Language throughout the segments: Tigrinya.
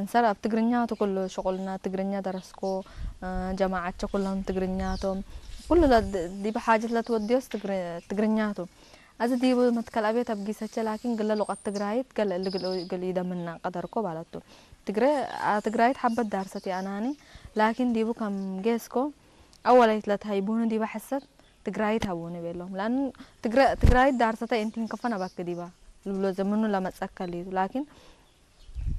እንሰር ኣብ ትግርኛ ትኩሉ ሽቁልና ትግርኛ ደረስኮ ጀማዓቸ ኩሎም ትግርኛቶም ኩሉ ዲብ ሓጀት ለትወድዮስ ትግርኛቱ ኣዚ ዲቡ መትከል ኣብየት ኣብ ጊሰቸ ላኪን ግለ ሉቀት ትግራይት ገለ እሊ ግልኡ ግልኡ ይደምና ቀደርኮ ባለቱ ትግረ ትግራይት ሓበት ዳርሰት የኣናኒ ላኪን ዲቡ ከም ጌስኮ ኣወላይት ለትሃይቡኒ ዲባ ሕሰት ትግራይት ሃቡኒ ቤሎም ላን ትግራይት ዳርሰተ እንቲን ከፈን ኣባክ ዲባ ልብሎ ዘምኑ ለመጸከል እዩ ላኪን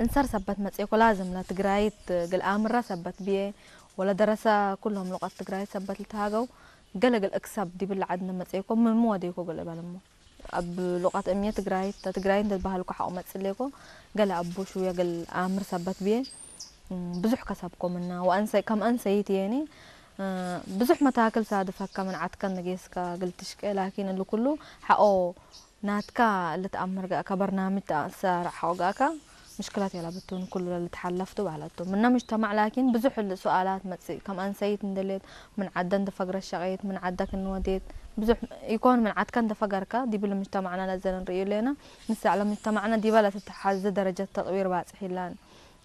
እንሰር ሰበት መጽኤኮ ላዝም ለትግራይት ግልኣምራ ሰበት ብየ ወለ ደረሰ ኩሎም ሉቀት ትግራይት ሰበት ልትሃገው ገለግል እክሰብ ዲብል ዓድነ መጽኤኮ ምሙ ወደይኮ ገለ በለሞ ኣብ ሉቀት እምየ ትግራይት ትግራይት እንተባህልኮ ሓቆ መጽሌኮ ገለ ኣቦ ሽውየ ገል ኣምር ሰበት ብየ ብዙሕ ከሰብኮ ምና ወኣንሰይ ከም ኣንሰይት የኒ ብዙሕ መታክል ሳድፈካ ምን ዓትከን ንጌስካ ግልትሽቀ ላኪን እሉ ኩሉ ሓቆ ናትካ ልትኣምር ጋእካ በርናምጅ ተኣሰራርሓ ጋእካ ምሽክላት የላ ብትውን ኩሉ ለልትሓለፍቱ ባህለቱ ምና ምጅተማዕ ላኪን ብዙሕ ል ሱኣላት መጽእ ከም ኣንሰይት እንደሌት ምን ዓደ እንደፈግረ ሸቀየት ምን ዓደ ክንወዴት ብዙሕ ይኮን ምን ዓድካ እንደፈገርካ ዲብል ምጅተማዕና ለዘ ንርእዩ ሌና ንሳዕ ለምጅተማዕና ዲባ ለትትሓዘ ደረጀት ተጥዊር ባጽሕ ይላን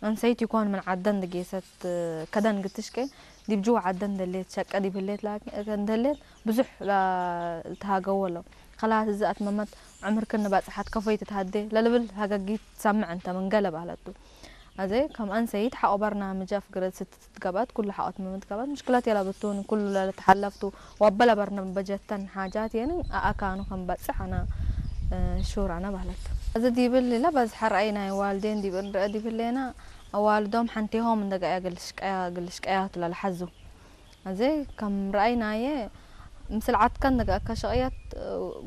ኣንሰይት ይኮን ምን ዓደ እንደጌሰት ከደን ግትሽቀ ዲብ ጅዋ ዓደ እንደሌት ሸቀ ዲብሌት ላኪን እንደሌት ብዙሕ ልትሃገዎ ኣሎ። ከላስ እዚ ኣትመመት ዕምርክን ንባጽሓት ከፎይ ትትሃዴ ለልብል ሃገጊት ትሰምዕ እንተ ምን ገለ ባለቱ። ኣዜ ከም ኣንሰይት ሓቆ በርናምጅ ኣፍግረት ስትትገባት ኩሉ ሓቆ ትመመት ገባት ምሽክላት የላ ብትውን ኩሉ ለልትሓለፍቱ ወበለ በርነ በጀተን ሓጃት የን ኣኣካኑ ከም በጽሕ ኣና ሹር ኣና ባለቱ። እዚ ዲብል ኢላ በዝሐ ረኣይ ናይ ዋልዴን ዲብል ንርአ ዲብል ሌና ኣዋልዶም ሓንቴሆም እንደገያ ግልሽቀያ ግልሽቀያቱ ለልሓዙ። እዚ ከም ረኣይናየ ምስል ዓድካ እንደገኣካ ሸቕያት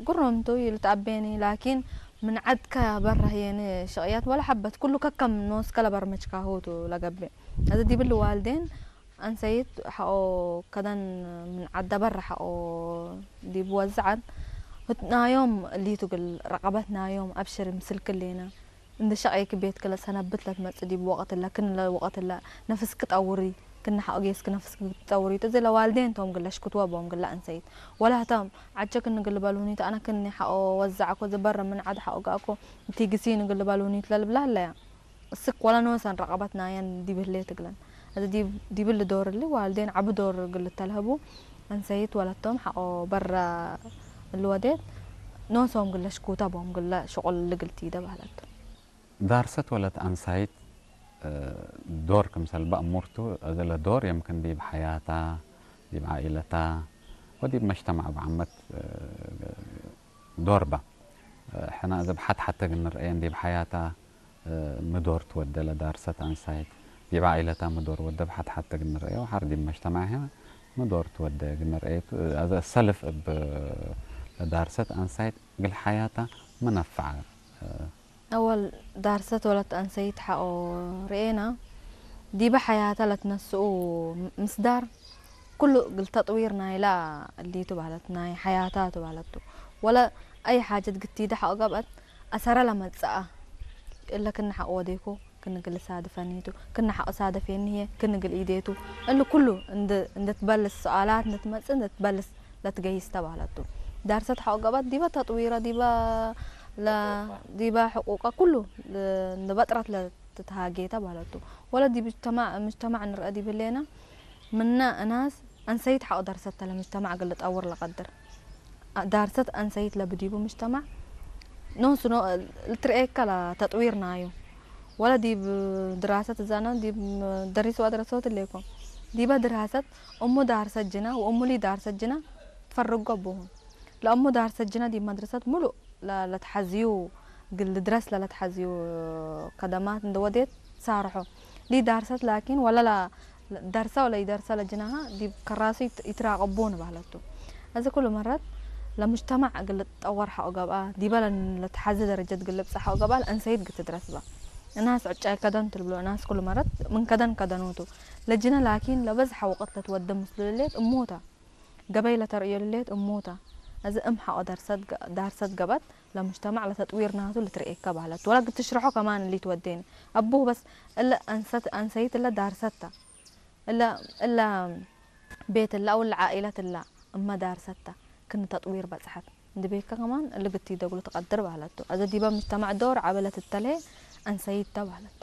ጉሮምቱ ይልትኣቤኒ ላኪን ምን ዓድካ በራህየኒ ሸቕያት ወላ ሓበት ኩሉ ከከም ንወስከ ለበርመችካ ሆቱ ለገብእ እዚ ዲብል ዋልዴን ኣንሰይት ሓቆ ከደን ምን ዓዳ በራ ሓቆ ዲብ ወዝዓት ህትናዮም እሊቱ ግል ረቐበት ናዮም ኣብሽር ምስል ክሌና እንደ ሸቕየኪ ቤትኪ ለሰነብት ለትመጽእ ዲብ ወቕት እለ ክን ለወቕት እለ ነፍስኪ ጠውሪ ክን ሓቕ ጌስኪ ነፍስኪ ትጠውሪ እቲ እዚ ለዋልዴን ቶም ግለ ሽክትወ ቦም ግለ ኣንሰይት ወላ ህቶም ዓጀ ክን ግል በልሁኒት ኣነ ክኒ ሓቆ ወዛዕኮ ዝበረ ምን ዓድ ሓቆ ጋእኮ እቲ ግሲ ንግል በልሁኒት ለልብላ ኣለያ እስክ ወላ ኖሰን ረቐበት ናየን ዲብህሌ ትግለን እዚ ዲብል ዶር እሊ ዋልዴን ዓቢ ዶር ግል ተልህቡ ኣንሰይት ወለቶም ሓቆ በረ እልወዴት ኖሶም ግለ ሽኩታ ቦም ግለ ሽቁል ልግልቲ ይደ ባህለቱ። ዳርሰት ወለት ኣንሳይት ዶር ክምሰል ባእሙርቱ እዘለ ዶር የምክን ዲብ ሓያታ ዲብ ዓኢለታ ወዲብ መጅተማዕ ብዓመት ዶር ባ ሕና እዘ ብሓት ሓተ ግንርአየን ዲብ ሓያታ ምዶር ትወደ ለዳርሰት ኣንሳይት ዲብ ዓኢለታ ምዶር ወደ ብሓት ሓተ ግንርአየ ወሓር ዲብ መጅተማዕ ሕና ምዶር ትወደ ግንርአየቱ ኣዘ ሰልፍ እብ ለዳርሰት ኣንሳይት ግል ሓያታ መነፍዓ ኣወል ዳርሰት ወለት ኣንሰይት ሓቆ ርኤና ዲበ ሓያታ ለትነስኡ ምስዳር ኩሉ ግል ተጥዊር ናይላ እሊቱ ባለት ናይ ሓያታ ቱ ባለቱ ወለ ኣይ ሓጀት ግቲደ ሓቆ ገብአት ኣሰረ ለመጽኣ እለ ክነ ሓቆ ወዴኮ ክነ ግል ሳድፈኒቱ ክነ ሓቆ ሳደፌኒ ህየ ክነ ግል ኢዴቱ እሊ ኩሉ እንደ ትበልስ ሰኣላት እንደ ትመጽእ እንደ ትበልስ ለትገይስ ተባህለቱ። ዳርሰት ሓቆ ገባት ዲበ ተጥዊረ ዲበ ለ ዲበ ሕቁቀ ኩሉ ንበጥረት ለትትሃጌ ተባህለቱ። ወለ ዲብ ምጅተማዕ ምጅተማዕ ንርአ ዲብ ህሌና ምነ እናስ ኣንሰይት ሓቆ ዳርሰት ተለ ምጅተማዕ ግል ጠውር ለቀድር። ዳርሰት ኣንሰይት ለብዲቡ ምጅተማዕ ኖሱ ልትርኤካ ለተጥዊር ናዩ። ወለ ዲብ ድራሰት እዛና ዲብ ደሪስዋ ደረሰወት እሌኮ። ዲበ ድራሰት እሙ ዳርሰት ጅና ወእሙ ሊ ዳርሰት ጅና ትፈርጎ ኣቦሁ። ለእሙ ዳርሰት ጅና ዲብ መድረሰት ሙሉእ ለትሓዝዩ ግል ድረስ ለለትሓዝዩ ከደማት እንደ ወዴት ሳርሖ። ሊ ዳርሰት ላኪን ወለ ደርሰ ወለ ይደርሰ ለጅናሃ ዲብ ከራሱ ይትራቀቦ ንባህለቱ። እዚ ኩሉ መረት ለምጅተማዕ ግል ጠወር ሓቆ ገብኣ ዲበ ለትሓዚ ደረጀት ግል ብጻ ሓቆ ገብኣ ለእንሰይት ግትድረስ ባ። እናስ ዕጫይ ከደን ትልብሎ እናስ ኩሉ መረት ምን ከደን ከደኑቱ። ለጅነ ላኪን ለበዝሓ ወቅት ለትወደ ምስሉ ልሌት እሞታ። ገበይ ለተርእዮ ልሌት እሞታ። እዚ እም ሓቆ ዳርሰት ገበት ለምጅተማዕ ለተጥዊር ናቱ ልትርእየካ ባህለት። ወላ ግትሽርሖ ከማን እሊ ትወዴኒ። ኣቡህ በስ እለ ኣንሰት ኣንሰይት እለ ዳርሰታ። እለ እለ ቤት እለ ኣው እለ ዓኢለት እለ እመ ዳርሰታ ክን ተጥዊር በጽሐት። እንድቤካ ከማን እሊ ግቲ ደግሉ ትቀድር ባህለቱ። ኣዘ ዲበ ምጅተማዕ ዶር ዓበለት እተልሄ ኣንሰይት ተባህለት።